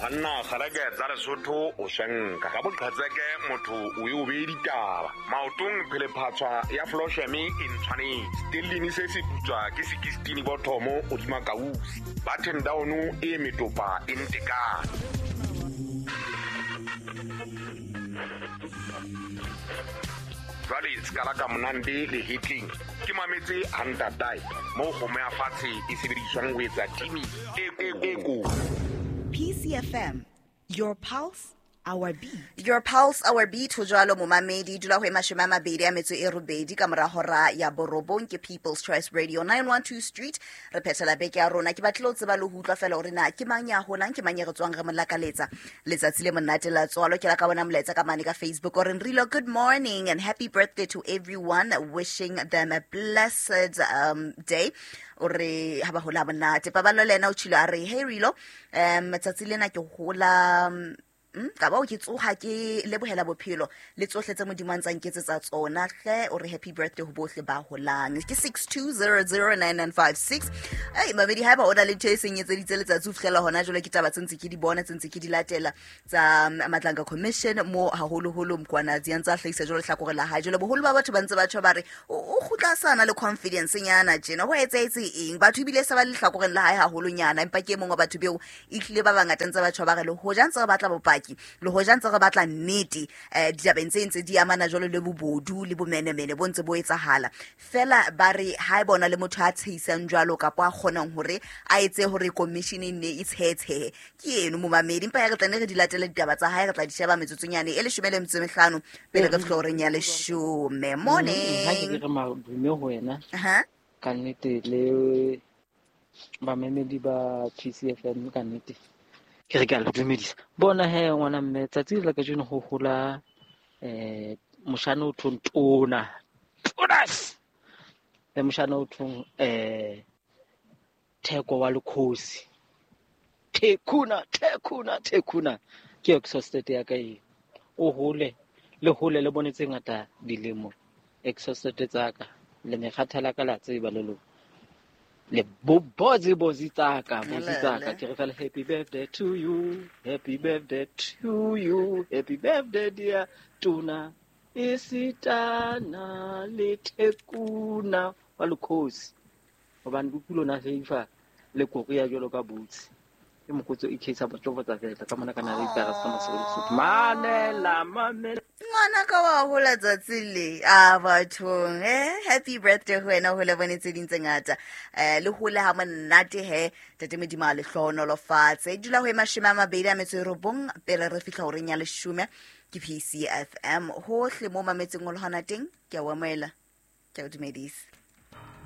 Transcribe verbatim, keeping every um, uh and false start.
Banna kgaleke tsa Lesotho o shenka ka boqhetseke motho o e o beye ditaba maotong phelephatswa ya flosheme e ntshwanetse stellini se se putswa ke sekistini bothomo hodima kausi button down e metopa e ntekane. Jwale sekala ka monande le hitling ke mametse hantatai mo kgomo ya fatshe e sebediswang ho etsa timi e e ko. P C F M, your pulse, our beat. Your pulse, our beat. Ho jwalo momamedi dula ho e mashome a mabedi a metso e robedi ka mora hora ya borobong ke People's Choice Radio nine one two Street. Re phethela beke ya rona. Ke batlile ho tseba le ho utlwa fela hore na ke mang ya holang, ke mang ya re tswang re mo lakaletsa letsatsi le monate la tswalo. Ke la ka bona molaetsa ka mane ka Facebook o re Nrilo, good morning and happy birthday to everyone, wishing them a blessed um, day. O re ha ba hola monate. Paballo le yena o tshilo a re hey Rilo, um tsatsi lena ke hola Mm, ka ba o ke tsoha ke lebohela bophelo le tsohle tse Modimo a ntsang ketsetsa tsona hle. O re happy birthday ho bohle ba holang. Ke six two zero zero nine nine five six. Ai mamedi, haeba o na le ntho e seng etseditse letsatsi ho fihlela hona jwale, ke taba tse ntse ke di bona, tse ntse ke di latela tsa Madlanga Commission mo haholoholo Mkhwanazi a ntse a hlahisa jwale hlakore la hae. Jwale boholo ba batho ba ntse ba tjho ba re o kgutla sana le confidence nyana tjena, ho etsahetse eng? Batho ebile se ba le hlakoreng la hae haholonyana, empa ke e mong wa batho beo ehlile ba bangata ntse ba tjho ba re le hoja ntse re batla bopaki, le hoja ntse re batla nnete eh ditabeng tse ntse di amana jwalo le bobodu le bomenemene bo ntse bo etsahala fela. Ba re ha e bona le motho a tsheisang jwalo kapa a kgonang hore a etse hore commission e nne e tshetshe ke eno momamedi. Empa ya re tla ne re di latele ditaba tsa hae, re tla di sheba metsotsonyane e leshome le metso e mehlano pele re fihla horeng ya leshome. Morning. Ha ke re madume ho wena ka nnete le bamemedi ba P C F M ka nnete ke re ke a le dumedisa. Bona he ngwana mme, tsatsi la kajeno ho hola eh moshana o thong tona tonas le moshana o thong eh Theko wa Lekhosi, Thekuna Thekuna Thekuna ke exhausted ya ka e o hole le hole le bone tse ngata dilemo exhausted tsa ka le mekgathala ka la tseba le lo le bobozi bozi tsaka bozi tsaka. Ke re fela happy birthday to you, happy birthday to you, happy birthday dear Tuna isitana le Thekuna wa Lekhosi. Hobane bokulo na feifa le korea jwalo ka boots ke mokotso e case ba tjobotsa fela ka mona kana le itara sa mosebetsi mamela mamela ngwana ka wa hola tsatsi le a bathong eh happy birthday ho wena, ho le bone tse ding tse ngata eh le hole ha monate he tate Modimo a le hlohonolofatse. Dula ho e mashome a mabedi a metso e robong pele re fihla horeng ya leshome ke P C F M hohle mo mametseng o le hona teng. Ke a o amohela, ke a o dumedisa.